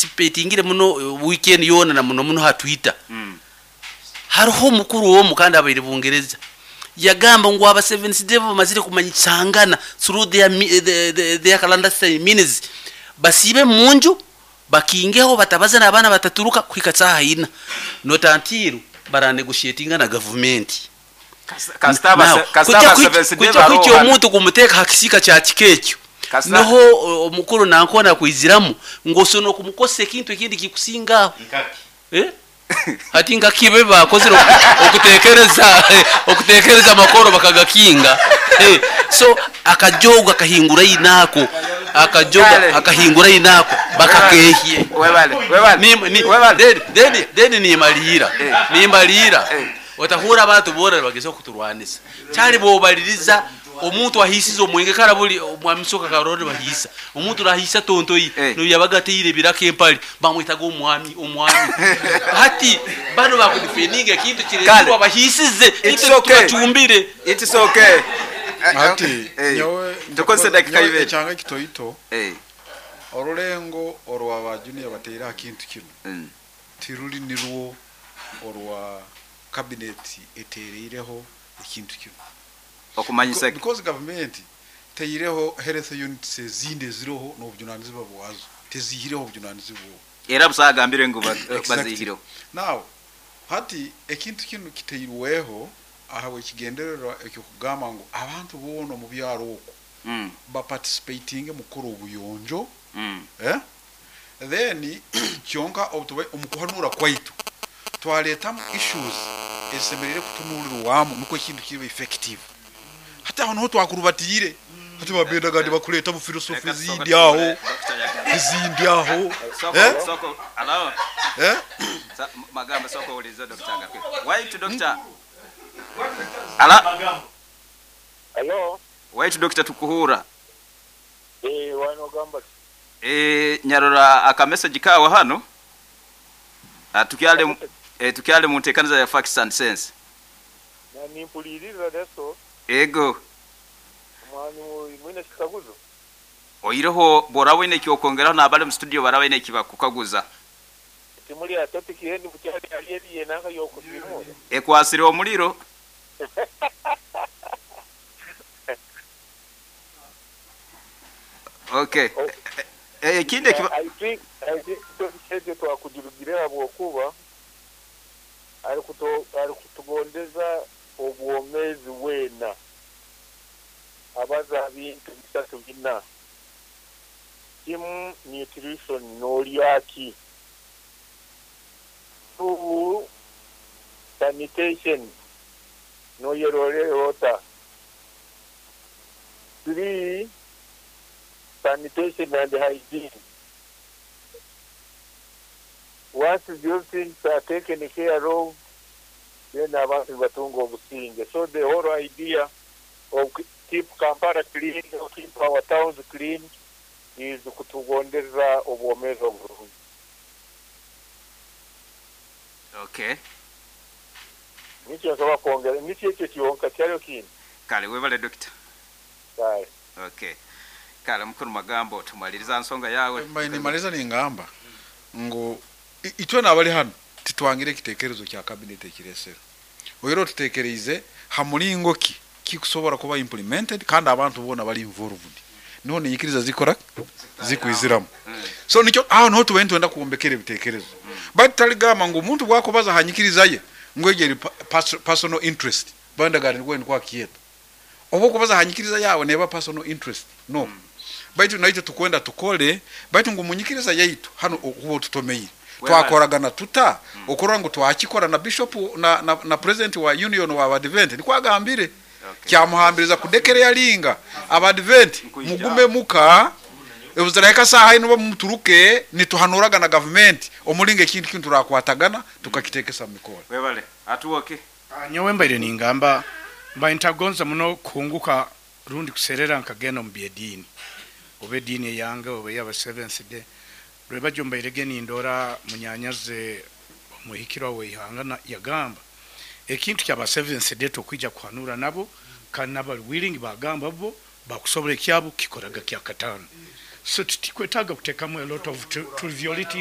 Participatingire muno weekend yoona na muno muno ha Twitter. Hariho omukuru omu kandi abaire Bungereza yagamba ngu aba Seventh Day bamazire kumanyisangana through their clandestine means, basiibe munju, bakingeho, batabaza n'abaana, bataturuka kuhika saaha 4, not until baranegotiatinga na gavumenti. Kasita Now, aba Seventh Day kujya kwikya barohana. omuntu kumuteeka ha kisiika kya kika ekyo, niho omukuru nankona kwiziramu ngu osobola okumukosa ekintu ekindi kikusingaho. Eh? Hati nka kibe bakozire okutekereza amakoro bakagakinga. So akajogo akahingura inako akajoga Kale. akahingura inako bakakehye. Webale, webale. Webale. Then nimalira nimalira. Otahura abantu bora bageza kuturwanisa cyari bobaliriza omuntu ahisize omwenge karabuli omwami soka karori bahisa omuntu rahisa tontoyi. No yabaga teire biraka empali bamwitaga omwami omwami. Hati bano bakudefendinga ekintu Kale. kirekirwa bahisize. It's Itwe okay. tubacumbire. It's okay. Ati nyowe Tukozese dakika nyowe 2. Ekyanga kitoito, orulengo orwa ba junior bateire aha kintu kino tiruri nirwo orwa cabinet etereireho ekintu kino. Okumanyisa Because government teireho health units ezindi eziroho n'obujunanizibwa bwazo, tezihireho obujunanizibwa obwo. Era busagambire ngu Exactly. bazihireho. Now hati ekintu kino kiteirweho ahabwe ekigendererwa ekyokugamba ngu abantu boona omu byaro okwo baparticipatinge mu kukora obuyonjo. Eh? Then kyonka obutuba omu kuhanura kwaitu twaletamu issues ezisemerire kutunuulirwamu nukwo ekintu kibe effective. Hati aho niho twakurubatiire, hati babendaga nibakuleetamu philosophy ezindi aho, ezindi aho. Eh? Soko allow. Eh? Magamba soko uliza Dr. Agape. Wait, doctor. Ala. Hello. Wait, doctor, tukuhura. Eh, wano gamba. Nyarora aka message kawe hano. Ah, tukyale mu nteekaniza ya Facts and Sense. Na nimpuliriza leso. Ego. Mwani mwine kikaguzo. Oyireho bora wine ekyokwongeraho n'abali mu studio bara wine ekibakukaguza. Timuli ya topic yendi bukyali ali eri yenanga yokusimura. Ekwasire omuliro. Okay. Oh. Ekindi ekiba I think topic ekyo twakugirugire habwokuba ari kutugondeza obwomezi wena abaza bintu bisatu bina. Kimu, nutrition, n'olyaki. Two, sanitation, n'oyerorerota. Three, sanitation and hygiene. Once those things are taken care of, then abantu batunga obusinge. So the whole idea of keep Kampala clean, keep our towns clean, is kutugondeza obwomezi obulungi. Okay. Nikyo nsobola kwongera, nikyo ekyo kyonka, kyaliyo kindi. Kale, webale doctor. Kale. Okay. Kale, mukuru Magambo, tumaliriza nsonga yawe. Mbaye nimaliza ningamba ngu itwe nabali hano titwangire ekitekerezo kya cabinet ekiresero oyero tutekereize ha mulingo ki kikusobora kuba implemented kandi abantu bona bali involved, niho ninyikiriza zikora zikwiziramu. So nikyo aho niho tubaye twenda kuwombekera ebitekerezo, but taligamba ngu omuntu bwakubaza hanyikiriza ye ngu egyo personal interest bandagara nigwe nikwa kiyeta oba okubaza hanyikiriza yawe neba personal interest no. Baitu naitwe tukwenda tukole, baitu ngu munyikiriza yaitu hano okuba otutomeire twakoragana tuta okurora ngu twakikora na bishop na president wa union wa Advent nikwagambire. Kyamuhambiriza kudekere yalinga Abadvent Nkuija. Mugume muka ebuziraika saha ino bamuturuke nituhanuraga na government omulinga ekintu kintu turakwatagana tukakitekesa mu mikoro. Webale atuwoke. Ah, nyowe mbaire ningamba mbaire ntagonza muno kuhunguka rundi kuserera nkagenda omu byediini oba ediini eyange oba eyaba Seventh Day rwebajo mbairege nindora munyanyaze omuhikirwa weihanga yagamba ekintu kyaba Seventh Day tokwija kuhanura nabo kandi nabali willing bagamba bo bakusobora ekyabo kikoraga kyakatano, so titikwetaga kutekamu a lot of triviality.